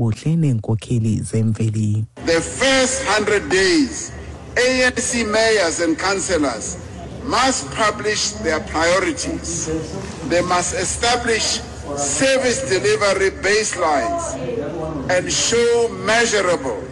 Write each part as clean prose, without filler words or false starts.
ubuhle neenkokheli zemveli. The first 100 days, ANC mayors and councillors must publish their priorities. They must establish service delivery baselines and show measurable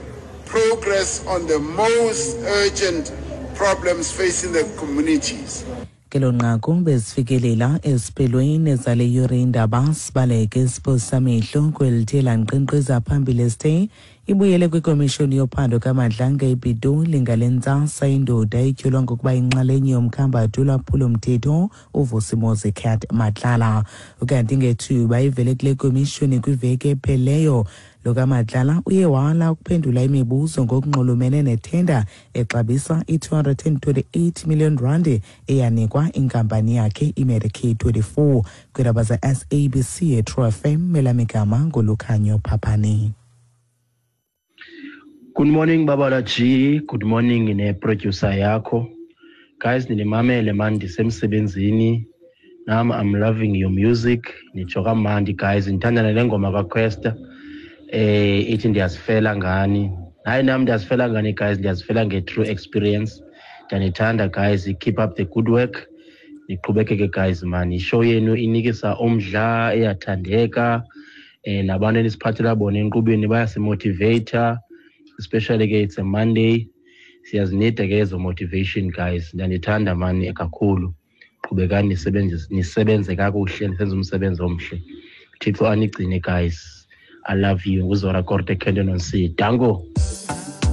progress on the most urgent problems facing the communities. Kelo nqaku bezifikelela esiphelweni zale yure indaba. Sibaleke siphosamehlo kwelithe lanqenqeza phambili esithe ibuyele kwikomishoni yophando kaMadlanga ePitoli ngale ntsasa indoda etyholwa ngokuba inxalenye yomkhambathi olwaphulo-mthetho uVusimozi Cat Matlala. Ukanti ngethuba ivele kule komishoni kwiveki epheleyo, lo kaMatlala uye wala ukuphendula imibuzo ngokunxulumene nethenda exabisa i-228 million rand eyanikwa inkampani yakhe iMedicaid 24. Kwiindaba ze-SABC eTrue FM, elamigama nguLukhanyo Phaphani. Good morning, Babala G. Good morning ne-producer yakho. Guys, ninimamele man, ndisemsebenzini. Nam I'm loving your music. Nitsho kamandi guys, ndithanda nale ngoma kaQuesta. Ithi ndiyazifela ngani. Hayi, nam ndiyazifela ngani guys, ndiyazifela nge-true experience. Ndiyanithanda guys, keep up the good work. Niqhubekeke guys man, ishow yenu inikisa umdla, iyathandeka. Nabantu enisiphathela bona enkqubeni bayasimotivata, especially ke it's a Monday, siyazinida ke ezo motivation guys. Ndiyanithanda mani kakhulu, qhubekani nisebenze, nisebenze kakuhle, nisenze umsebenzi omhle. Thixo anigcine guys, I love you. Nguzora Korte, Kenton on C. Danko.